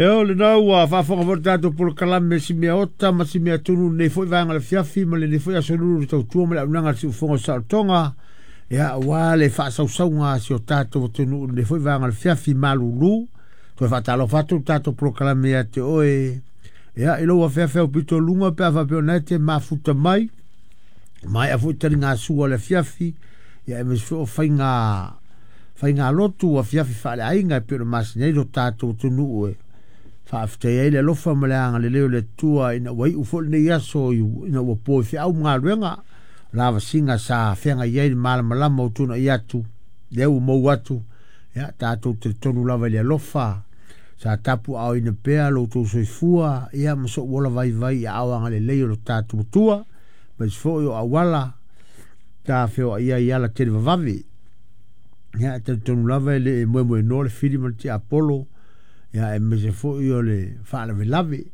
Eo lena ua faafofoga foi le tatou polokalame si mea ota ma si mea tunu lenei foi vaega o le afiafi ma lenei foi aso lulu i le tautua ma le auaunaga a le siufofoga o le saolotoga, ia aua le faasausauga a si o tatou atunuu i lenei foi vaega o le afiafi malulu. Toe faatalofa atu le tatou polokalame ia te oe, ia i lou afeafe aupito luga pe a faapea o lena e te mafuta mai, maea foi taligasua o le afiafi, ia aemaise foi o faiga lotu afiafi faaleaiga e pei ona masani ai lo tatou atunuu e faafetai ai le alofa ma le agalelei o le Atua ina ua iu foi lenei aso ina ua po i feau ma galuega lavasiga sa feagai ai le malamalama o tuanai atu lea ua mou atu. Ia tatou talitonu lava i le alofa sa tapuaaoina pea lo outou soifua ia ma sou ola vaivai i aao agalelei o lo tatou Atua, aemaise foi o auala ta feoai ai i ala tele vavave. Ia e talitonu lava e le moemoenoa le fili ma le tiapolo, ia aemaise foi o le faalavelave.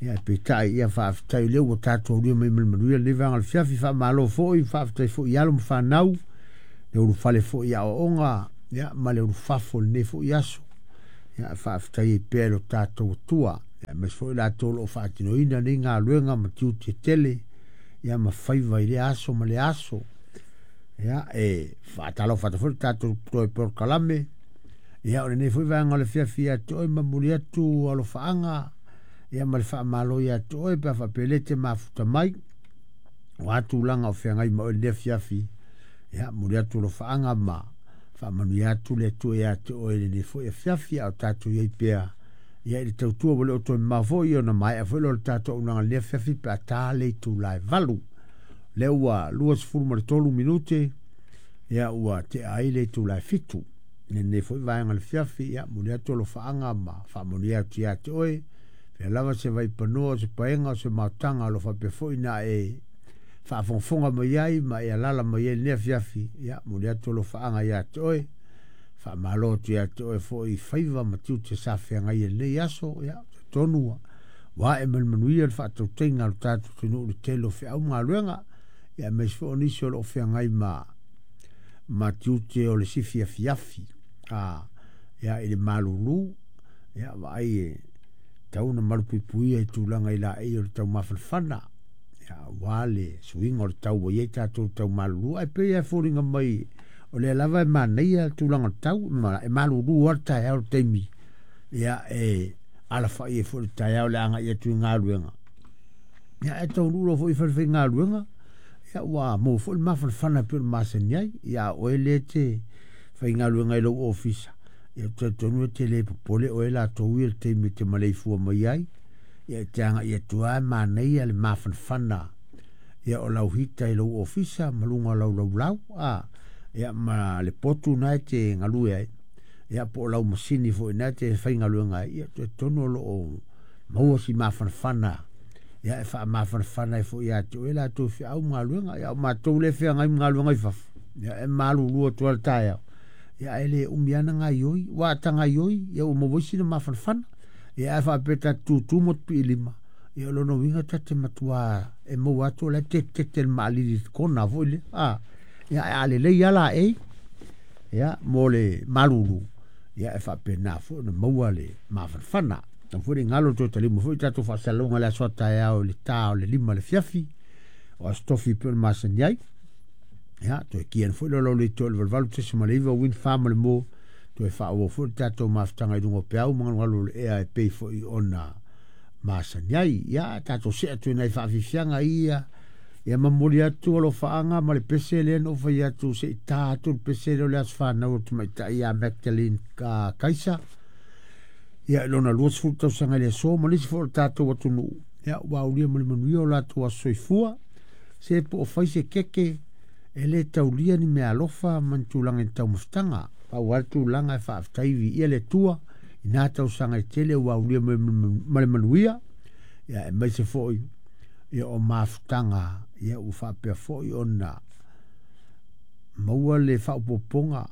Ia peitai ia faafetai o lea ua tatou aulia mai ma le manuia lenei vaega o le fiafi. Faamalo foi, faafetai foi i alo ma fanau, le ulufale foi i aoaoga, ia ma le ulufafo i lenei foi aso. Ia faafetai ai pea i lo tatou Atua, aemaise foi latou o lo o faatinoina nei galuega ma tiute tele, ia ma faiva i lea aso ma lea aso. Ia e faatalofa atu foi le tatou toe polokalame. Ia o lenei foi vaega o le afiafi ia te oe, momoli atu alofaaga ia ma le faamalo ia te oe pe a faapea o lea e te mafuta mai o a tulaga o feagai ma oe i lenei afiafi. Ia momoli atu alofaaga ma faamanuia atu le Atua ia te oe i lenei foi afiafi, a o tatou i ai pea ia i le tautua ua le o toe mamao foi ona maea foi lea o le tatou auaunaga i lenei afiafi pe a ta le itula e 8. Lea ua 23 minute ia ua tea ai le itula e 7 i lenei foi vaega o le afiafi. Ia momoli atu alofaaga ma faamanuia atu ia te oe, fea lava se vaipanoa o se paega o se maotaga o lo o faapea foi na e faafogafoga mai ai ma e alala mai ai lenei afiafi. Ia momoli atu alofaaga ia te oe, faamalo atu ia te oe foi i faiva ma tiute sa feagai i lenei aso. Ia talitonu ua ae ma le manuia le faatautaiga a lo tatou atunuu i le tele o feau ma galuega, ia aemaise foi o nisi o lo o feagai ma tiute o le sifi afiafi ia i le malulu. Ia vaai e tau ona malupuipuia i tulaga i laei o le taumafanafana, ia aua le suiga o le tau ua i ai tatou tau malulu, ae pei lava e foliga mai o lea lava e manaia le tulaga o le tau, e malulu lava le taeao i le taimi ia e alafai ai foi le taeao le agai atu i galuega. Ia ae taunuu loa foi i le falefaigaluega, ia ua maua foi le mafanafana e pei ona masani ai. Ia a o oe lea e te faigaluega i lou ofisa, ia ou te talitonu e te le popole oe latou ia i le taimi e te maleifua mai ai. Ia e te agai atu lava e manaia le mafanafana ia o lau hita i lou ofisa ma luga o lau laulau, ia ma le potu na e te galue ai, ia po o lau masini foi na e te faigaluega ai. Ia talitonu o lo o maua si mafanafana, ia e faamafanafana ai foi ia te oe latou feau ma galuega. Ia o matou lea e feagai ma galuega i fafo, ia e malulu atu lava le taeao, ia ae le umi lava na gaioi, ua ta gaioi, ia ua maua ai sina mafanafana. Ia ae faapea ta te tutu ma te piilima, ia o lona uiga ta te matua e maua atu o la e tetete le maalili i le kona foi lea. Ia ae a lelei lava laei, ia mo le malulu, ia e faapena foi ona maua le mafanafana. Aua foi ne i galo toe talima foi tatou faasalalauga i le aso a taeao i le ta o le 5 i le afiafi, o Aso Tofi pei ona masani ai. Ia, toe kia ane foi le olo leitio i le 88.9 Wind Farm o le mo, toe faaauau foi le tatou mafutaga i luga o peau ma galugalu o le ea e pei foi ona masani ai. Ia, tatou see atu i nai faafiafiaga ia, ia momoli atu alofaaga ma le pese lea na ou fai atu se i ta atu le pese lea o le aso fanau o le tamaitai ia Magdalene Kaisa. Ia, i lona 20 tausaga i le aso ma nisi foi o le tatou atunuu, ia, ua aulia ma le manuia o latou aso soifua. Se po o fai se keke, e le taulia ni mea alofa ma ni tulaga i ni taumafataga. Pau lava le tulaga e faafetai viia le Atua i na tausaga e tele ua aulia ma le manuia, ia aemaise foi ia o mafutaga ia ua faapea foi ona maua le faaopoopoga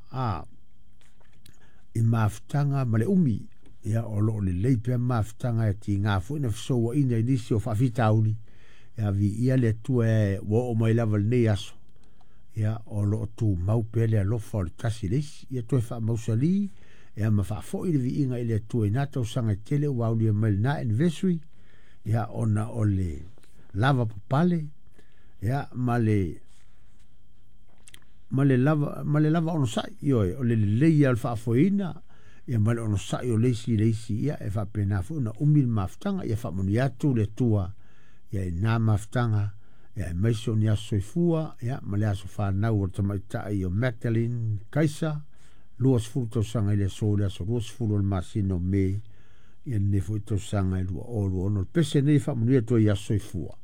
i mafutaga ma le umi. Ia o lo o lelei pea mafutaga e tiga foi na fesouaina i nisi o faafitauli. Ia viia le Atua e ua oo mai lava lenei aso, ia o lo o tumau pea le alofa o le tasi i le isi. Ia toe faamausali Ia ma faafoi le viiga i le Atua i na tausaga e tele ua aulia mai lena anniversary, ia ona o le lava papale, ia ma le lava onosai, ioe, o le lelei o le faafoeina, ia ma le onosai o le isi i le isi, ia e faapena foi ona umi le mafutaga, ia faamanuia atu le Atua, ia i na mafutaga, ia aemaise o ni aso soifua, ia ma le aso fanau o le tamaitai o Magdalene Kaisa, 20 tausaga i le aso, le aso 20 o le masina o Me, ia lenei foi tausaga e 2026. O le pese nei faamanuia atu ai aso soifua.